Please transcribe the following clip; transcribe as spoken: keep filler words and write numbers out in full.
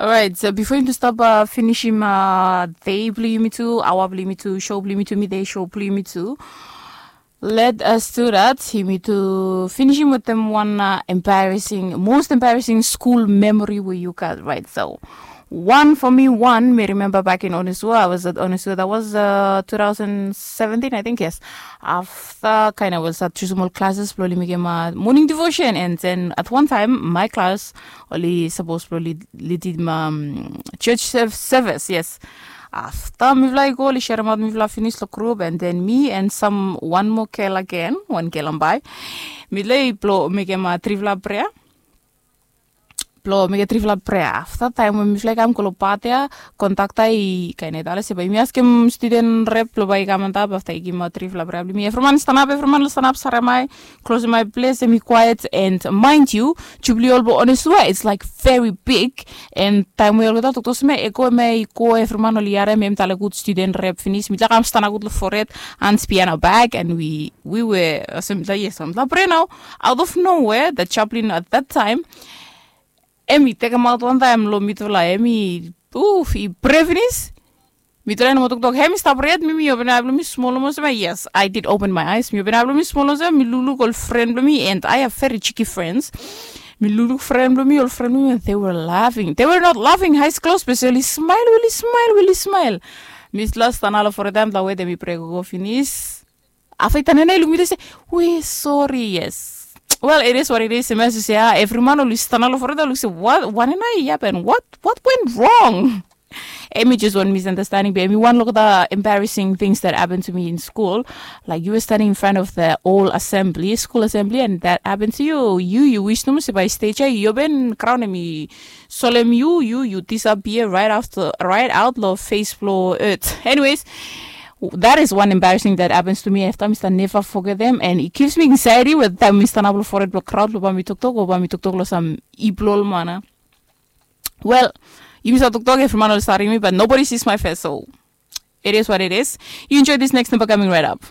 Alright, so bifo yumi tu stap uh, finisim uh, dei blong yumi tu, aoa blong yumi tu, show blong yumi tu, midei show blong yumi tu. Let us do that. Yumi tu finisim wetem wan uh, embarrassing, most embarrassing school memory we you got, right? So one for me, one mi remember back in Onisua. I was at Onisua. That was uh, two thousand seventeen, I think, yes. Afta kain of was at Chismol classes, blong oli mekim uh, morning devotion, and then at one time my class oli suppose blong oli leadim um, church service, yes. Afta mifala i go, oli sharemaot mifala finis long group, and then me and some one more girl again, one girl ambai, mifala i blong mekim uh, trifala prayer. Blong mekim trifala prayer. Afta taim we mifala i kam go long pat ya, kondakta i kain i tale se bae yumi askim student rep blong bae i kam antap afta i givim trifala prayer blong mi. Evriman stanap, evriman stanap sarem ai, klosem ai ples, em i kwaet. And mind you, Jubilee Hall blong Onisua, it's like very big. And taim we olgeta toktok seme e go, em i go, evriman oli harem em tale gud, student rep finis. Mifala kam stanap gud long fored, hands behind our back, and we we were olsem mifala, yes, mifala prayer nao. Out of nowhere, the chaplain at that time, em i tekemaot wantaem long mifala, em i uf, i prayer finis. Mifala i no moa toktok, em i stap prayer yet, mi mi open ai blong mi smol olsem, yes, I did open my eyes. Mi open ai blong mi smol olsem, mi lukluk ol fren blong mi, and I have very cheeky friends. Mi lukluk fren blong mi, ol fren blong mi, and they were laughing. They were not laughing, eyes closed, be se oli smile, oli smile, oli smile. Mifala stanap long fored taem, taem we mi prayer gogo finis. Afta i tanem i luk mi, i se, we sorry, yes. Well, it is what it is. Em i se, ah, evriman oli stanap long fored, luk se, what, wanem nao i happen? What, what went wrong? Em i just wan misunderstanding, be em i wan long the embarrassing things that happened to me in school. Like, you were standing in front of the whole assembly, school assembly, and that happened to you. Yu, yu wis nomo se bae stage ya i open, graon em i solem yu, yu, yu disappear right after, right out long face blong earth. Anyways, that is one embarrassing that happens to me. Afta mi stap neva fogetem, and it gives me anxiety we taem mi stanap long fored blong graon blong bae mi toktok, o bae mi toktok long sam ip blong ol man. Well, yumi stap toktok, evriman oli staring mi, but nobody sees my face, so it is what it is. You enjoy this next number coming right up.